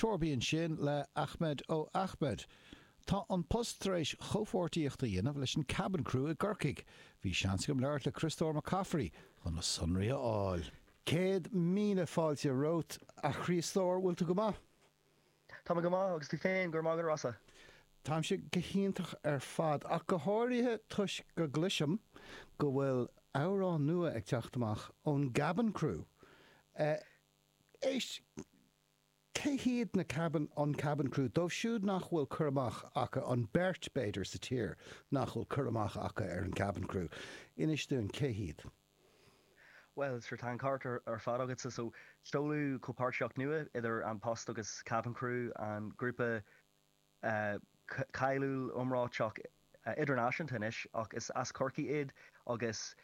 Torby ansin le Ahmed Oh Ahmed. Tá An Post tar éis chomhpháirtíocht a dhéanamh leis an Cabin Crew i gCorcaigh. Bhí seans agam labhairt le Criostóir Mac Cafraidh chun na sonraí a fháil. 100,000 fáilte romhat, a Chriostóir, bhfuil tú go maith? Tá mé go maith, agus tú féin, go raibh maith agat, a Rossa. Táimse go hiontach ar fad, ach go háirithe toisc go gcloisim go bhfuil amhrán nua ag teacht amach ón gCabin Crew. Éist, cé hiad na Cabin, an Cabin Crew? Dóibh siúd nach bhfuil cur amach acu, an bheirt, b'fhéidir, sa tír nach bhfuil cur amach acu ar an Cabin Crew, inis dúinn cé hiad. Bhuel, sure, tá an ceart ar fad agatsa. So, seoladh comhpháirtíocht nua idir An Post agus Cabin Crew, an grúpa cáiliúil iomráiteach idirnáisiúnta anois, ach is as Corcaigh iad agus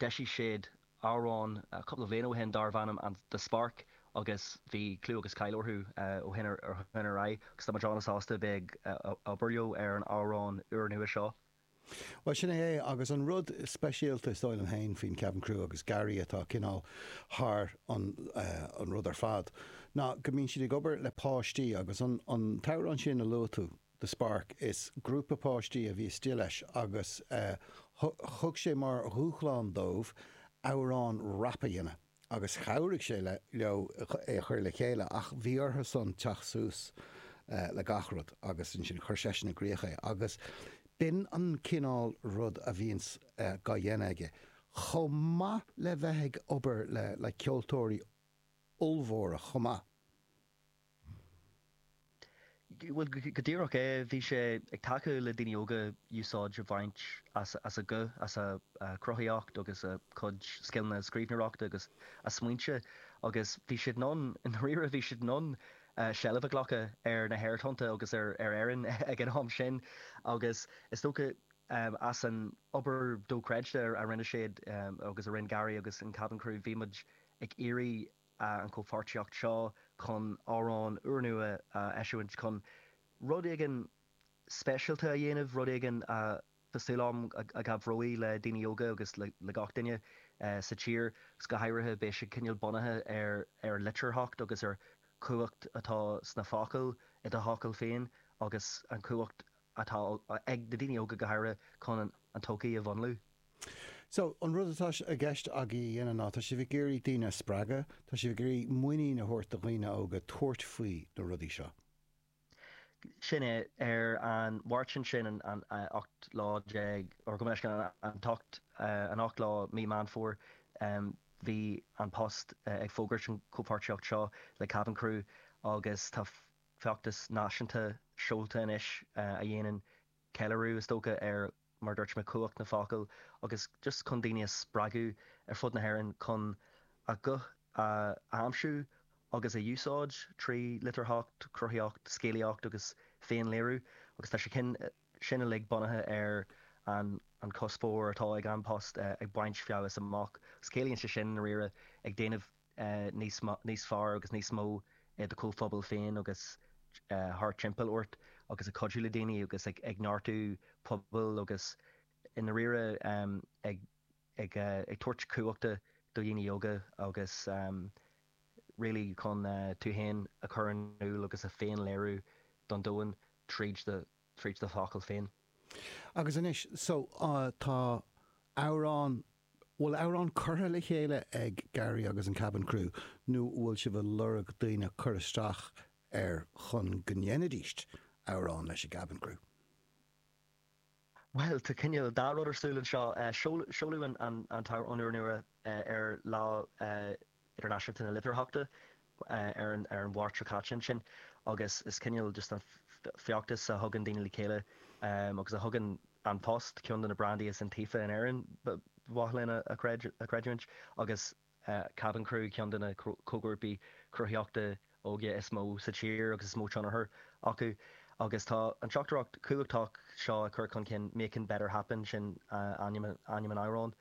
d'eisigh siad amhrán cúpla bliain ó shin darbh ainm The Spark agus bhí clú agus cáil orthu ó shin ar aghaidh agus tá muid an-sásta bheith ag obair leo ar an amhrán úrnua seo. Bhuel, sin é é, agus an rud speisialta, is dóigh liom féin, faoin Cabin Crew agus Gary atá cineál thar an an rud ar fad, ná go mbíonn siad ag obair le páistí agus an an t-amhrán sin a luaigh tú, The Spark, is grúpa páistí a bhí istigh leis agus thug sé mar dhúshlán dóibh amhrán rap a dhéanamh. agus chabhraigh sé leo é a chur le chéile ach bhí orthu san teacht suas le gach rud agus ansin chuir seisean i gcrích é agus b'in an cineál rud a bhíonns gá dhéanamh aige chomh maith le bheith ag obair le le ceoltóirí ollmhóra chomh maith. Bhuel, go díreach é. Bhí sé ag tacú le daoine óga úsáid a bhaint as a guth, as a cruthaíocht agus a cuid scileanna scríbhneoireachta agus a smaointe agus bhí siad in ann, i ndáiríre, bhí siad in ann seilbh a ghlacadh ar na haerthonnta agus ar Éirinn ag an am sin agus is dócha as an obair dochreidte a rinne siad agus a rinne Gary agus an Cabin Crew, bhí muid ag iarraidh an chomhpháirtíocht seo chun amhrán úrnua a eisiúint, chun rud éigin speisialta a dhéanamh, rud éigin a, tá súil agam, a chabhróidh le daoine óga agus le gach duine sa tír, agus go háirithe beidh sé cineál bunaithe ar ar litearthacht agus ar chumhacht atá sna focail, i do fhocail féin, agus an chumhacht atá ag na daoine óga go háirithe chun an todhchaí a mhúnlú. So, an rud atá i gceist agaibh a dhéanamh ná, tá sibh ag iarraidh daoine a spreagadh, tá sibh ag iarraidh muinín a thabhairt do dhaoine óga tabhairt faoi na rudaí seo. Sin é. Ar an Mháirt ansin, an 18 lá, or gabh mo leithscéal, an t-ocht, an 8 lá mí Meán Fómhair, bhí An Post ag fógairt an chomhpháirtíocht seo le Cabin Crew agus tá feachtas náisiúnta seolta anois a dhéanann ceiliúradh, is dócha, ar, mar a dúirt mé, cumhacht na focal agus just chun daoine a spreagadh ar fud na hÉireann chun a guth a aimsiú agus a úsáid trí litearthacht, cruthaíocht, scéalaíocht agus féinléiriú agus tá sé sin uilig bunaithe ar an an cuspóir atá ag An Post ag baint feabhas amach agus ciallaíonn sé sin, i ndáiríre, ag déanamh níos níos fearr agus níos mó i do chomhphobal féin agus thart timpeall ort agus ag cuidiú le daoine agus ag ag neartú pobail agus i ndáiríre ag ag ag tabhairt cumhachta do dhaoine óga agus really chun tú féin a chur in iúl agus a féinléiriú don domhan tríd do tríd do focail féin. Agus anois, so, tá amhrán Bhfuil amhrán curtha le chéile ag Gary agus an Cabin Crew nó bhfuil sibh ag lorg daoine cur isteach air chun go ndéanfaidís amhrán leis an gCabin Crew? Bhuel, tá cineál dá rud ar siúl anseo. Seoladh an t-amhrán úrnua ar Lá Idirnáisiúnta na Litearthachta ar an Mháirt seo caite ansin agus is cineál just an feachtas a thugann daoine le chéile agus a thugann An Post, ceann de na brandaí is iontaofa in Éirinn, ba mhaith linn a chreidiúint, agus Cabin Crew, ceann de na comhghrúpaí cruthaitheachta óige is mó sa tír agus is mó tionchar acu. Agus tá an teachtaireacht chumhachtach seo á cur chun cinn, Making Better Happen, sin ainm an amhráin,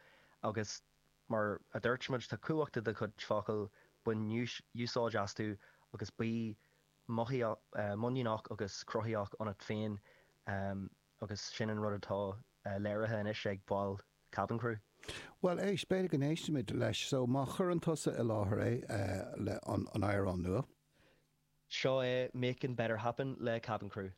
agus Mar a dúirt muid, tá cumhacht i do chuid focal, bain úsáid astu agus bí muiníneach agus cruthaitheach ionat féin agus sin an rud atá léirithe anois ag baill Cabin Crew. Bhuel, éist, b'fhéidir go n-éistfimid leis. So, má chuireann tusa i láthair é, le an amhrán nua. Seo é Making Better Happen le Cabin Crew.